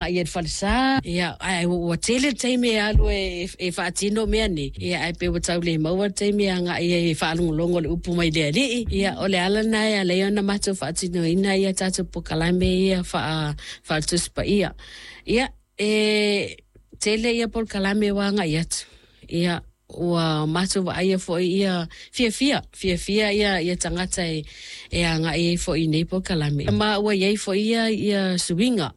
Ia le falesa, ia, ae ua tele le taimi e alu e faatino mea nei, ia, ae pei ua tau le maua le taimi e agai ai e faalogologo i le upu mai le Alii. Ia, o le ala lena e ala ai ona matou faatinoina ia tatou polokalame ia faa-Tusi Paia. Ia, e tele ia polokalame ua agai atu. Ia, ua matou vaaia foi ia fiafia, fiafia ia ia tagata e e agai ai foi i nei polokalame. Ma ua i ai foi ia ia suiga.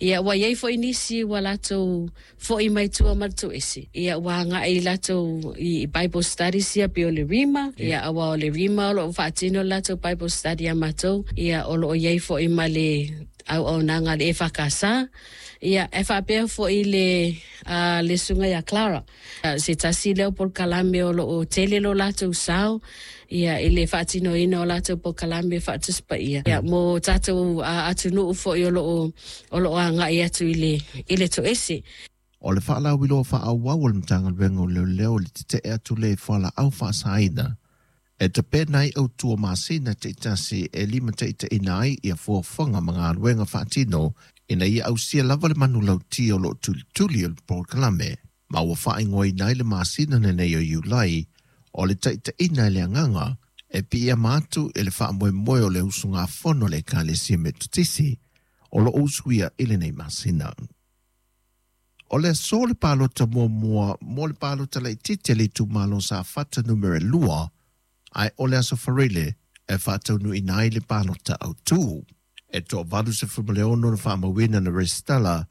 Ia ua i ai foi nisi ua latou foi mai tua ma le toese. Ia ua agai latou i Bible studies ia pei o le Rhema. Ia aua o le Rhema o lo o faatino le latou Bible study ia matou. Ia o lo o i ai foi ma le auaunaga a le EFKS. Ia e faapea foi le a le susuga ia Clara. Se tasi lea o polokalame o lo o tele lo latou sao ia i le faatinoina o latou polokalame faa-Tusi Paia ia mo tatou atunuu foi o lo o o lo o agai atu i le i le toese. O le faalauiloa faaauau a le Matagaluega o Leoleo i le tetee atu lea i fualaau faasaina e tapena ai autu o masina taitasi e limataitaiina ai ia fuafuaga ma galuega faatino ina ia ausia lava le manulauti o lo o tulituli o le polokalame, ma ua faaigoaina ai le masina lenei o Iulai o le Taitaiina e le Agaga e piiama atu i le faamoemoe o le usugafono a le Ekalesia Metotisi o lo o usuia i lenei masina. O le aso le palota muamua mo le palota laitiiti a le itumalo o Safata numera 2, ae o le aso Faraile e faataunuuina ai le palota autu. E toa-86 na faamauina na resitala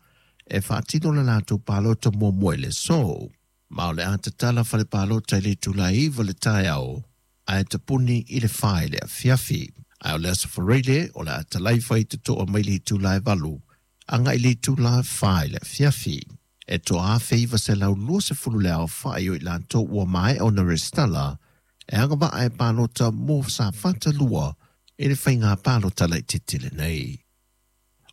e faatino le latou palota muamua i le aso. Ma o le a tatala fale palota i le itula e 9 le taeao, ae tapuni i le 4 i le afiafi. Ae o le aso Faraile o le a talaifa i totoa mai le itula e 8 agai i le itula e 4 i le afiafi. E toa-1920 le aofai o i latou ua maea ona resitala e agavaa e palota mo Safata 2 i le faiga palota laitiiti lenei.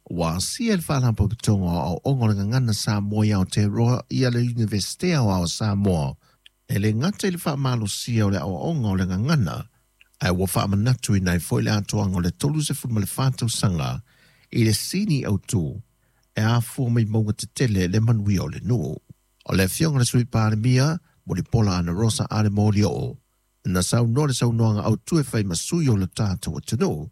Ua asia e le Faalapotopotoga o Aoaoga o le Gagana Samoa i Aotearoa ia le Iunivesite Aoao o Samoa e le gata i le faamalosia o le aoaoga o le gagana, ae ua faamanatuina ai foi le atoaga o le 34 tausaga i le sini autu e afua mai mauga tetele le manuia o le nuu. O le Afioga i le Sui Palemia, Mulipola Anarosa Ale Molioo, na saunoa le saunoaga autu e fai ma sui o le tatou atunuu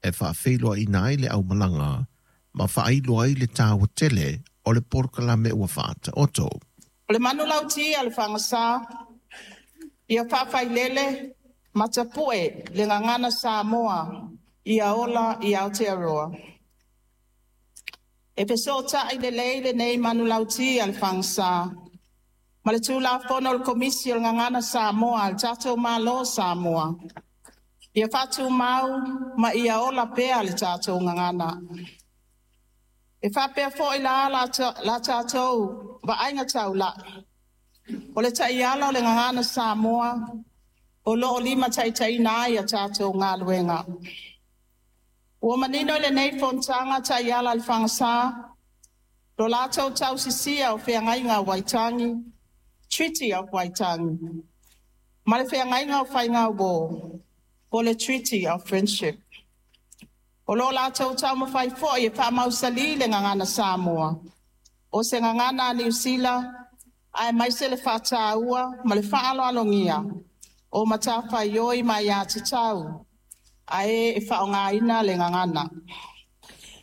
e faafeiloaiina ai le aumalaga ma faailoa ai le taua tele o le polokalame ua faataoto. O le manulauti a le Fagasa, ia faafailele ma tapue le gagana Samoa ia ola i Aotearoa. E fesootai lelei lenei manulauti a le Fagasa ma le Tulafono o le Komisi o le Gagana Samoa a le tatou Malo o Samoa, ia faatumau ma ia ola pea le tatou gagana. E faapea foi la la tatou vaaiga taulai, o le taiala o le Gagana Samoa o lo o limataitaiina ai a tatou galuega. Ua manino i lenei fonotaga taiala a le Fagasa, lo latou tausisia o feagaiga o Waitangi, Treaty of Waitangi, ma le feagaiga o faigauō, po le Treaty of Friendship. O lo o latou taumafai foi e faamausalī le gagana Samoa, o se gagana a Niu Sila, aemaise le faataua ma le faaaloalogia o matafaioi ma aiatatau a e e faaaogaina le gagana.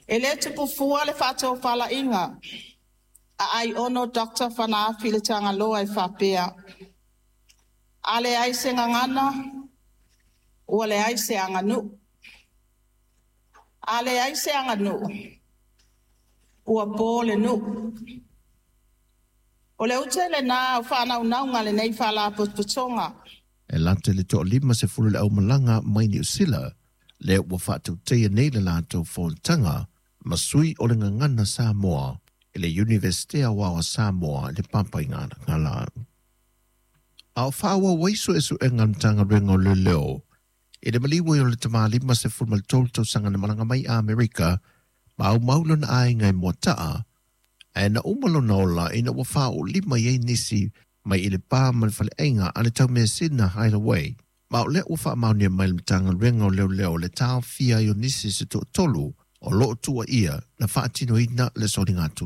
E le tupu fua le faatofalaiga a Aiono Dr. Fanaafi le Tagaloa e faapea, a leai se gagana, ua leai se aganuu. A leai se aganuu, ua po le nuu. O le ute lenā o faanaunauga a lenei Faalapotopotoga. E lata i le toa-50 le aumalaga mai Niu Sila lea ua faatautaia nei le latou fonotaga ma sui o le Gagana Samoa i le Iunivesite Aoao a Samoa i le Papaigalagala. A o faaauau ai suesuega a le Matagaluega o Leoleo i le maliu ai o le tama 53 tausaga na malaga mai Amerika ma aumau lona aiga i Moataa, ae na uma lona ola ina ua faaoolima i ai nisi mai i le pa ma le faleaiga a le taumeasina Hideaway. Ma o lea ua faamaonia mai le Matagaluega o Leoleo le taofia ai o nisi se toatolu o lo o tuuaia na faatinoina le soligatulafono.